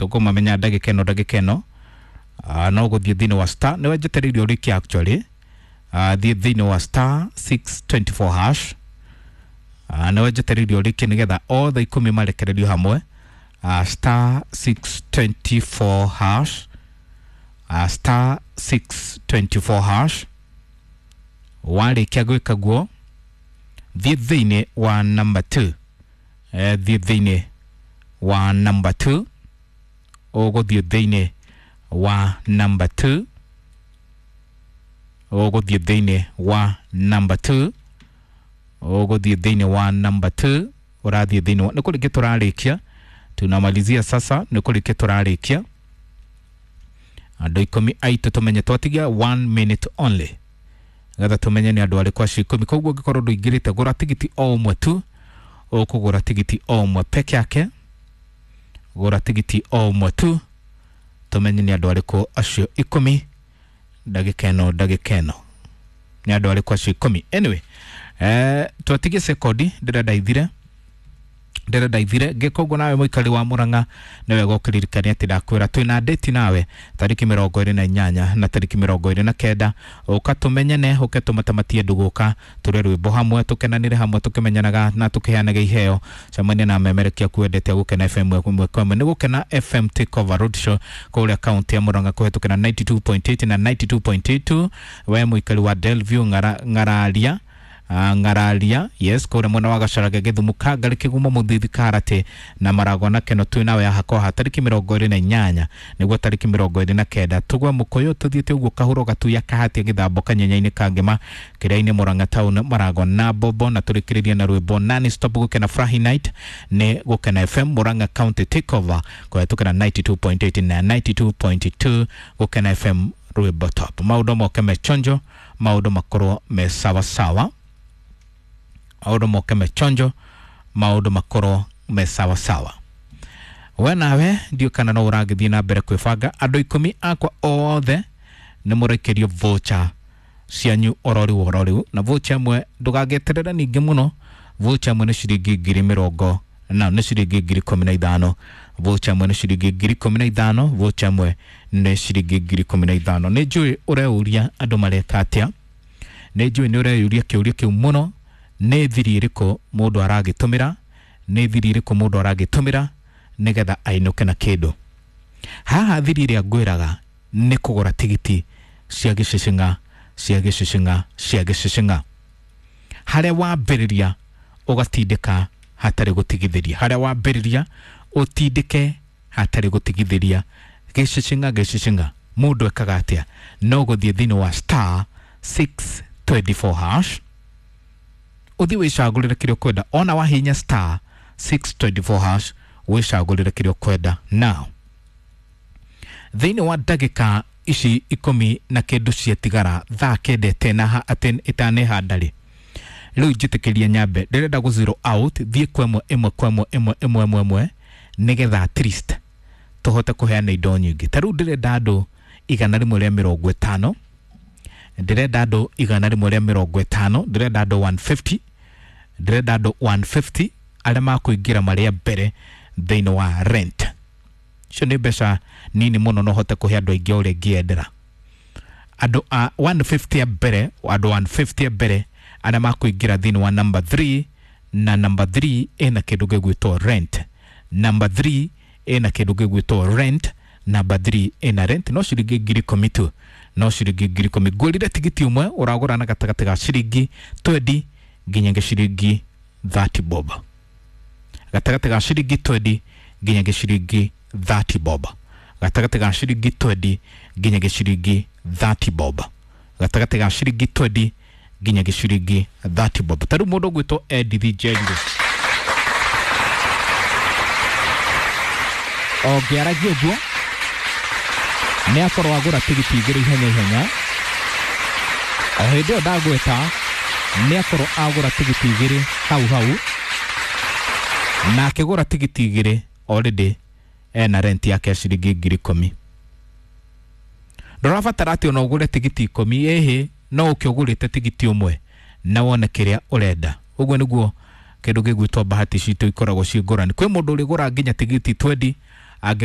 Tũkũmamenya ndagĩka ĩno ndagĩka ĩno. No gũthiĩ thĩinĩ wa star nĩwe njetereire ũrĩkie actually. Thiĩ thĩinĩ wa star 624 hash. Nĩwe njetereire ũrĩkie nĩgetha othe 10 marekererio hamwe. Star 624 hash. Star 624 hash. Warĩkia gwĩka guo thiĩ thĩinĩ wa number 2. Thiĩ thĩinĩ wa number 2. Ũgũthiĩ thĩinĩ wa number 2. Ũgũthiĩ thĩinĩ wa number 2. Ũgũthiĩ thĩinĩ wa number 2. Ũrathiĩ thĩinĩ wa nĩ kũrĩkia tũrarĩkia. Tunamalizia sasa, nĩ kũrĩkia tũrarĩkia. Andũ 10 aitũ tũmenye twatigia 1 minute only getha tũmenye nĩ andũ arĩkũ acio 10. Koguo ũngĩkorwo ndũingĩrĩte gũra tigiti o ũmwe tu, ũkũgũra tigiti o ũmwe peke yake, gũra tigiti o ũmwe tu tũmenye nĩ andũ arĩkũ acio 10 ndagĩka ĩno ndagĩka ĩno nĩ andũ arĩkũ acio 10. Anyway, twatigie sekondi ndĩrenda ithire ndĩrenda ithire. Ngĩka ũguo nawe mũikari wa Murang'a nĩ wega ũkĩririkane atĩ ndakwĩra twĩna date nawe tarĩki 28 na tarĩki 29. Ũka tũmenyane, ũke tũmatamatie ndũgũka tũrĩe rwĩmbo hamwe, tũkenanĩre hamwe, tũkĩmenyanaga na tũkĩheanaga iheo. Cemania na memerekia kwendete Gũkena FM ĩmwe kwa ĩmwe. Nĩ Gũkena FM Takeover Roadshow kũrĩa kaunti ya Murang'a kũhetũkĩra 92.8 na 92.2. We mũikari wa Delview Ng'araria, Ng'araria, yes, kũrĩa mwena wa Gacharage, Gĩthumo, Kangari, Kĩgumo, Mũthithi, Karate na Maragwa na Keno twĩ nawe haha kwa tarĩki 28 nĩguo tarĩki 29 tũgwe mũkũyũ tũthiĩte ũguo kahuro gatuya kahatia gĩthambo kanyenya-inĩ ka Ngĩma kĩrĩa-inĩ Murang'a town Maragwa na Bobo, na tũrĩkĩrĩrie na rwĩmbo non stop Gũkena Furahi Night nĩ Gũkena FM Murang'a County Takeover kũhetũkĩra 92.8 na 92.2 Gũkena FM rwĩmbo top. Maũndũ moke me chonjo, maũndũ makorwo me sawa sawa, maũndũ moke me chonjo, maũndũ makorwo me sawa sawa. We nawe ndiũ kana no ũragĩthiĩ na mbere kwĩbanga. Andũ 10 akwa othe nĩ mũrekerio voucher cianyu ororiu ororiu, na voucher ĩmwe ndũgagĩeterere ningĩ mũno. Voucher ĩmwe nĩ ciringi ngiri mĩrongo na nĩ ciringi ngiri 15. Voucher ĩmwe nĩ ciringi ngiri 15. Voucher ĩmwe nĩ ciringi ngiri 15. Nĩ njũĩ ũreuria andũ mareka atĩa, nĩ njũĩ nĩ ũreyũria kĩũria kĩu mũno. Nĩ thiri ĩrĩkũ mũndũ aragĩtũmĩra, nĩ thiri ĩrĩkũ mũndũ aragĩtũmĩra nĩgetha ainũke na kĩndũ. Haha thiri ĩrĩa ngwĩraga nĩ kũgũra tigiti cia gĩcicing'a cia gĩcicing'a cia gĩcicing'a. Harĩa wambĩrĩria ũgatindĩka hatarĩ gũtigithĩria, harĩa wambĩrĩria ũtindĩke hatarĩ gũtigithĩria. Gĩcicing'a gĩcicing'a mũndũ ekaga atĩa? No gũthiĩ thĩinĩ wa star 624 hash ũthiĩ wĩcagũrĩre kĩrĩa ũkwenda. Ona wahinya star 624 hash wĩcagũrĩre kĩrĩa ũkwenda. Now thĩinĩ wa ndagĩka ici 10 na kĩndũ ciatigara thaa kenda ĩtanehanda rĩ, rĩu njĩtĩkĩrie nyambe ndĩrenda gũ zero out thiĩ kwa ĩmwe ĩmwe kwa ĩmwe ĩmwe ĩmwe ĩmwe ĩmwe nĩgetha at least tũhote kũheana indo nyingĩ. Ta rĩu ndĩrenda andũ 150, ndĩrenda andũ 150, ndĩrenda andũ 150, ndĩrenda andũ 150 arĩa makũingĩra marĩa mbere thĩinĩ wa rent. Icio nĩ mbeca nini mũno no hote kũhe andũ aingĩ ũrĩa ingĩendera. Andũ a 150 a mbere, andũ 150 a mbere arĩa makũingĩra thĩinĩ wa number 3, na number 3 ĩna kĩndũ gĩgwĩtwo rent. Number 3 ĩna kĩndũ gĩgwĩtwo rent. Number 3 ĩna rent no ciringi ngiri 10 tu, no ciringi ngiri 10. Ngũrire tigiti ũmwe ũragũra na gatagatĩ ga ciringi 20 nginya ciringi 30 bob, gatagatĩ ga ciringi 20 nginya ciringi 30 bob, gatagatĩ ga ciringi 20 nginya ciringi 30 bob, gatagatĩ ga ciringi 20 nginya ciringi 30 bob. Ta rĩu mũndũ ũgwĩtwo Edith Njeri ũngĩaragia ũguo nĩ akorwo agũra tigiti 2 ihenya ihenya. O hĩndĩ ĩyo ndagwĩta nĩ akorwo agũra tigiti 2 hau hau, na akĩgũra tigiti 2 already ena rent yake ya ciringi ngiri 10. Ndũrabatara atĩ ona ũgũre tigiti 10, ĩhĩ, no ũke ũgũrĩte tigiti ũmwe na wone kĩrĩa ũrenda. Ũguo nĩguo kĩndũ gĩgwĩtwo bahati citũ ikoragwo ciĩ ngũrani. Kwĩ mũndũ ũrĩgũra nginya tigiti 20 angĩ